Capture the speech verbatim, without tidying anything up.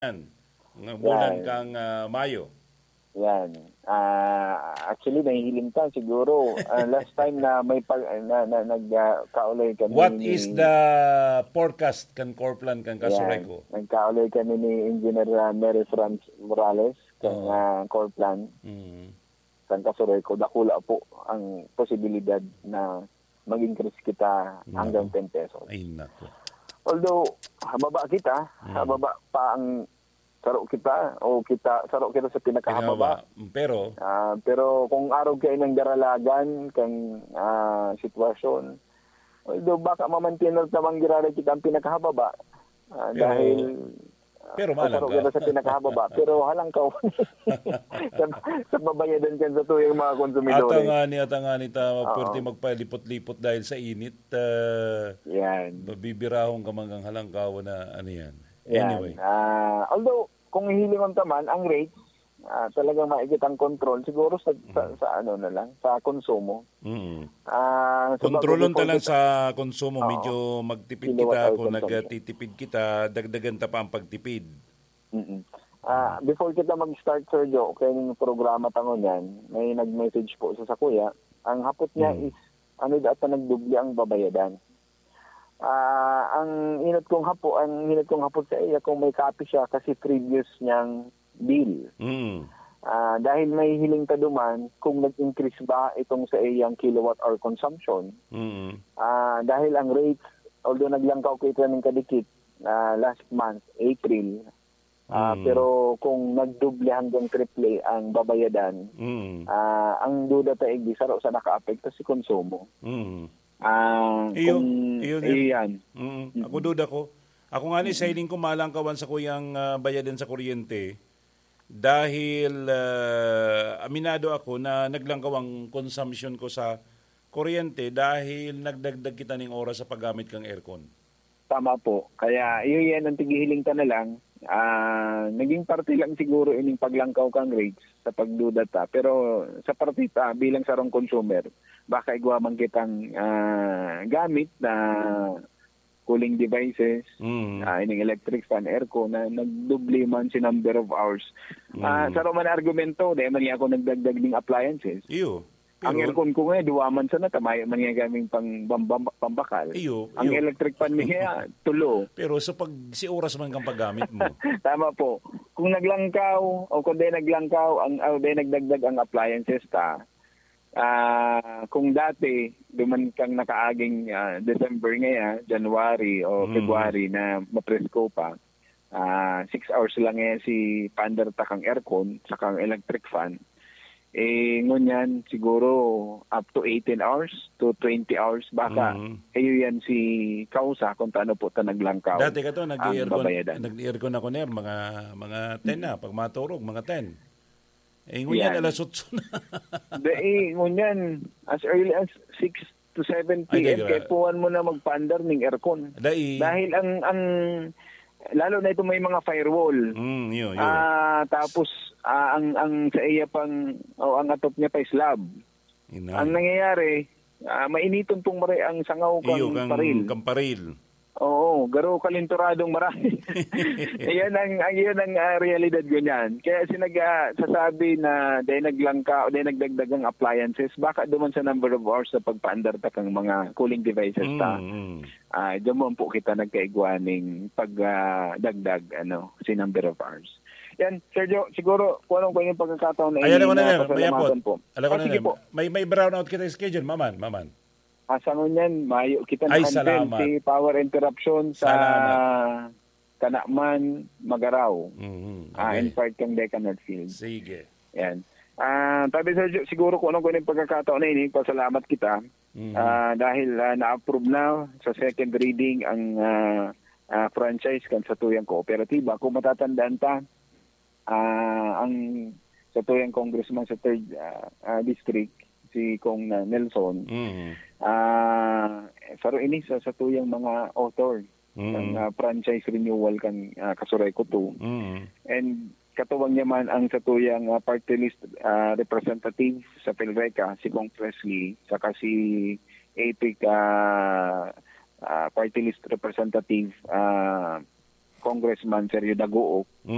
Yan. Ng bulan Yan. kang, ah, Mayo. Yan. Ah, actually, nahihiling ta siguro. Ah, last time na may pag-, na, na, nag, ah, kaulay kami What ni is the forecast kan Corplan, kan Yan. Kasureco? Nagkaulay kami ni Engineer, ah, Mary Franz Morales, kan, Oo. ah, Corplan, Mm. kan Kasureco. Dakula po ang posibilidad na mag-increase kita Nako. hanggang ten pesos. Ay, nako. Although, hababa kita, Mm. hababa pa ang saro kita, o kita, saro kita sa pinakahababa. Pinababa. Mm, pero Ah, pero kung arog kayo ng daralagan, kang, ah, sitwasyon, although baka mamantinar tamang giraray kita ang pinakahababa, ah, Pero dahil, ah, pero masaro malangkaw. kita sa pinakahababa, pero halangkaw sa, sa babayadan kan sa tuyang mga konsumidores. Ata nga ni, ata nga ni ta, Oo. pwerte magpalipot-lipot dahil sa init, ah, Yan. mabibirahon ka man kang halangkaw na ano yan. Yan. Anyway. Ah, although, kung hihilingon ka man, ang rates, ah, talagang maigit ang control. Siguro sa, sa, Mm. sa ano na lang, sa konsumo. Mm. Ah, sa Kontrolon bagong ta lang context sa konsumo. Oo. Medyo magtipid Kilowatt kita. hour Kung consumption. nagtitipid kita, dagdagan ta pa ang pagtipid. Mm-mm. Ah, Mm. before kita mag-start, Sir Joe, kaya yung programa ta ngunyan, may nag-message po sa sakuya. Ang hapot niya Mm. is, ano, dapat nagdoble ang babayadan. Ah, ang inot kong hapo, ang inot kong hapot sa iya kung may copy siya kasi previous niyang bill. Mm. Ah, dahil may hiling ta duman kung nag-increase ba itong sa iyang kilowatt hour consumption. Mm. Ah, dahil ang rates, although naglangkaw kita ng kadikit, ah, last month, April, ah, Mm. pero kung nagdoble hanggang triple ang babayadan, Mm. ah, ang duda ta igdi, saro sa nakaapekto si konsumo. Mm. Ah, Iyo, kung iyo, iyo yan. Mm, Mm. ako duda ko. Ako nga ni, Mm. sa hiling ko, malangkawan sa kuyang, ah, bayadan sa kuryente. Dahil, ah, aminado ako na naglangkaw ang consumption ko sa kuryente dahil nagdagdag kita ning oras sa paggamit kang aircon. Tama po. Kaya, iyo yan ang tighihiling ta na lang. Ah, naging parte lang siguro ining paglangkaw kang rates sa pagduda ta. Pero sa parte ta, bilang sarong consumer, baka igwa man kitang, ah, gamit na cooling devices, Mm. ah, ining electric fan, aircon, na nagdoble man si number of hours. Ah, Mm. sa Roman argumento, dahil man niya ako nagdagdag ning appliances. Iyo. Ang Pero aircon ko ngayon, duwa man sana, tamayo man niya gaming pang, pambam-, pambakal. Iyo, Ang iyo. electric fan niya, tulo. Pero sa pag, si oras man kang paggamit mo. Tama po. Kung naglangkaw, o kung di naglangkaw, ang, o di nagdagdag ang appliances ta, ah, kung dati, duman kang nakaaging, ah, December ngaya, January o Mm. February na mapresko pa, ah, six hours lang eh si paandar ta kang aircon sa kang electric fan. Eh, ngunyan, siguro up to eighteen hours to twenty hours, baka Mm. iyo yan si kausa kung taano po ta naglangkaw Dati ka to, ang nag-aircon, babayadan. nag-aircon ako, Ner, mga, mga ten na, pag maturog, mga ten. Eh, ngunyan, Yan. alas otso na. Dai, ngunyan, as early as six to seven Ay, P M, dai, kaya dai. puwan mo na magpaandar ning aircon. Dai. Dahil ang, ang, lalo na ito may mga firewall. Mm, yun, yun. Ah, tapos, ah, ang, ang sa iya pang, o ang atop niya pa slab. Ina. Ang nangyayari, ah, mainiton pong maray ang sangaw Iyo, kang kang paril. kang paril. Oo, garo kalinturadong marami. Ayan ang, ang, yun ang, ah, realidad ko niyan. Kaya sinag-, ah, sasabi na dahil naglangka, dahil nagdagdag ang appliances, baka duman sa number of hours sa pagpaandar ta kang mga cooling devices ta. Mm, mm. Ah, duman po kita nagkaigwa ning pag, ah, dagdag, ano, si number of hours. Yan, Sergio, siguro, kung anong pwedeng pagkakataon na Ay, alam ko na yan. May pasalamatan apot. po. Alam ko Ah, na sige yan. po. May, may brownout kita schedule, maman, maman. Asa ngunyan, mayo kita Ay, na-handle salamat. si power interruption sa Salamat. Kanaman, Magarao. Mhm. Ah, Okay. in part kang Deca Northfield. Sige. Yan. Ah, tabi, Sergio, siguro kung anong kuning pagkakataon na ini, pasalamat kita. Mhm. Ah, dahil, ah, na-approve na sa second reading ang, ah, ah, franchise kan satuyang kooperatiba. Kung matatandaan ta, ah, ang satuyang congressman sa third, ah, ah, district, si Cong, ah, Nelson, Mhm. ah, saro ini sa satuyang mga author Mhm. ng, ah, franchise renewal kan, ah, Kasureco two. Mhm. And katuwang niya man ang satuyang, ah, party list, ah, representative sa PhilReCa, si Cong Presley, saka si APEC, ah, ah, party list representative, ah, Congressman Sergio Dagook.